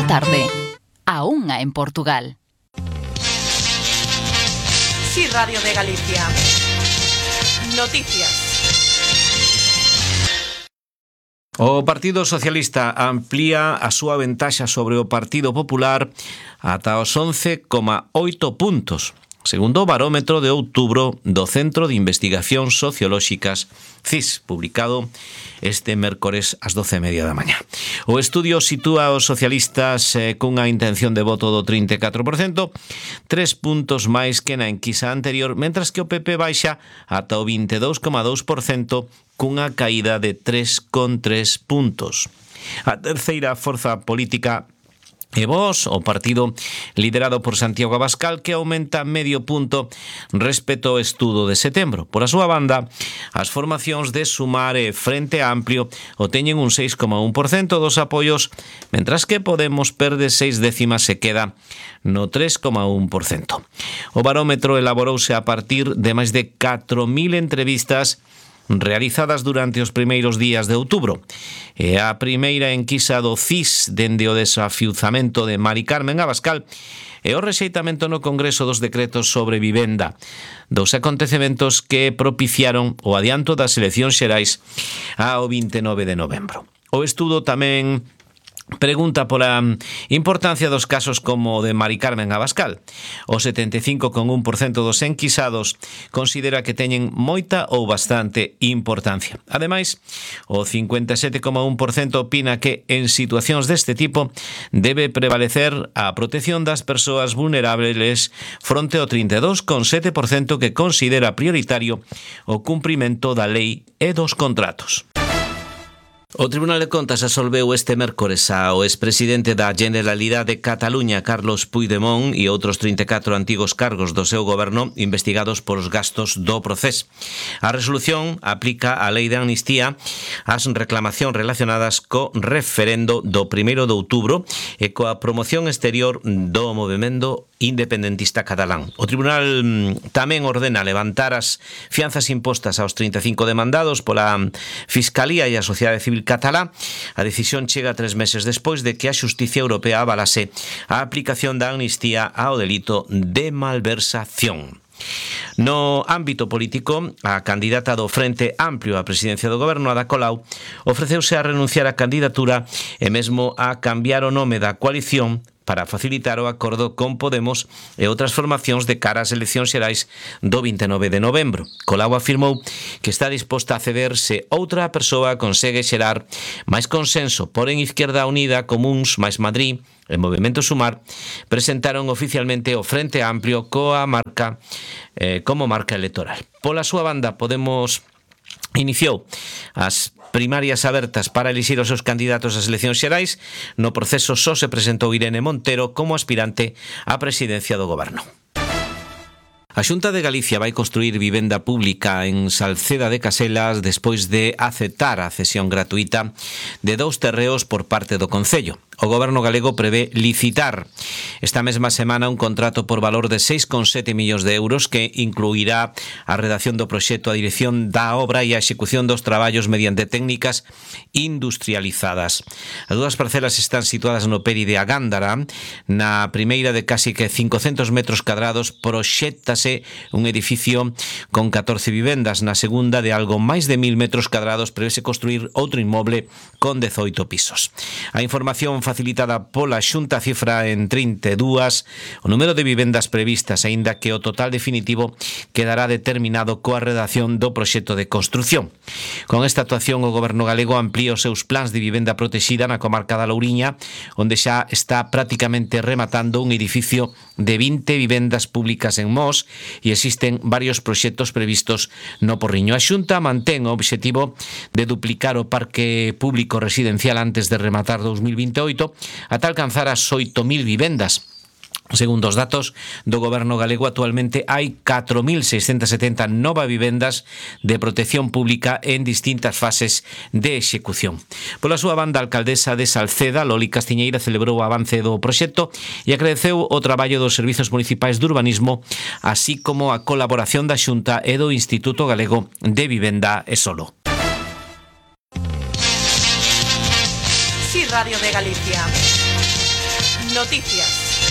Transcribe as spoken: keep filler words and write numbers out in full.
tarde. A unha en Portugal. Sí, Radio de Galicia. Noticias. O Partido Socialista amplía a súa ventaxa sobre o Partido Popular ata os once coma oito puntos, segundo o barómetro de outubro do Centro de Investigacións Sociolóxicas C I S, publicado este mércores ás doce e media da mañá. O estudio sitúa os socialistas eh, cunha intención de voto do trinta e catro por cento, tres puntos máis que na enquisa anterior, mentras que o P P baixa ata o vinte e dous coma dous por cento cunha caída de tres coma tres puntos. A terceira forza política é Vox, o partido liderado por Santiago Abascal, que aumenta medio punto respecto ao estudo de setembro. Por a súa banda, as formacións de Sumar e Frente Amplio o teñen un seis coma un por cento dos apoios, mentras que Podemos perde seis décimas e queda no tres coma un por cento. O barómetro elaborouse a partir de máis de catro mil entrevistas realizadas durante os primeiros días de outubro. E a primeira enquisa do C I S dende o desafiuzamento de Mari Carmen Abascal e o rexeitamento no Congreso dos decretos sobre vivenda, dos acontecementos que propiciaron o adianto das eleccións xerais ao vinte e nove de novembro. O estudo tamén pregunta pola importancia dos casos como o de Mari Carmen Abascal. O setenta e cinco coma un por cento dos enquisados considera que teñen moita ou bastante importancia. Ademais, o cincuenta e sete coma un por cento opina que en situacións deste tipo debe prevalecer a protección das persoas vulnerables fronte ao trinta e dous coma sete por cento que considera prioritario o cumprimento da lei e dos contratos. O Tribunal de Contas absolveu este mércores ao expresidente da Generalidade de Cataluña, Carlos Puigdemont, e outros trinta e catro antigos cargos do seu goberno investigados polos gastos do Procés. A resolución aplica a lei de amnistía ás reclamacións relacionadas co referendo do primeiro de outubro e coa promoción exterior do movemento independentista catalán. O Tribunal tamén ordena levantar as fianzas impostas aos trinta e cinco demandados pola Fiscalía e a Sociedade Civil catalá. A decisión chega tres meses despois de que a Xusticia Europea avalase a aplicación da amnistía ao delito de malversación. No ámbito político, a candidata do Frente Amplio á presidencia do goberno, Ada Colau, ofreceuse a renunciar á candidatura e mesmo a cambiar o nome da coalición para facilitar o acordo con Podemos e outras formacións de cara ás eleccións xerais do vinte e nove de novembro. Colau afirmou que está disposta a ceder se outra persoa consegue xerar máis consenso, porén Izquierda Unida, Comuns, máis Madrid e Movemento Sumar presentaron oficialmente o Frente Amplio coa marca eh, como marca electoral. Pola súa banda, Podemos iniciou as primarias abertas para elixir os seus candidatos ás eleccións xerais. No proceso só se presentou Irene Montero como aspirante á presidencia do goberno. A Xunta de Galicia vai construir vivenda pública en Salceda de Caselas despois de aceptar a cesión gratuita de dous terreos por parte do Concello. O goberno galego prevé licitar esta mesma semana un contrato por valor de seis coma sete millóns de euros que incluirá a redacción do proxecto, a dirección da obra e a execución dos traballos mediante técnicas industrializadas. As dúas parcelas están situadas no Peri de Agándara. Na primeira, de casi que cincocentos metros cadrados, proxéctase un edificio con catorce vivendas. Na segunda, de algo máis de mil metros cadrados, prevese construir outro inmoble con dezoito pisos. A información facilitada pola Xunta cifra en trinta e dúas o número de vivendas previstas, aínda que o total definitivo quedará determinado coa redacción do proxecto de construción. Con esta actuación, o goberno galego amplía os seus plans de vivenda protexida na comarca da Louriña, onde xa está prácticamente rematando un edificio de vinte vivendas públicas en Mos e existen varios proxectos previstos no Porriño. A Xunta mantén o obxectivo de duplicar o parque público residencial antes de rematar dous mil vinte e oito ata alcanzar as oito mil vivendas. Segundo os datos do goberno galego, actualmente hai catro mil seiscentas setenta novas vivendas de protección pública en distintas fases de execución. Pola súa banda, a alcaldesa de Salceda, Loli Castiñeira, celebrou o avance do proxecto e agradeceu o traballo dos servizos municipais de urbanismo, así como a colaboración da Xunta e do Instituto Galego de Vivenda e Solo. Sí, Radio de Galicia. Noticias.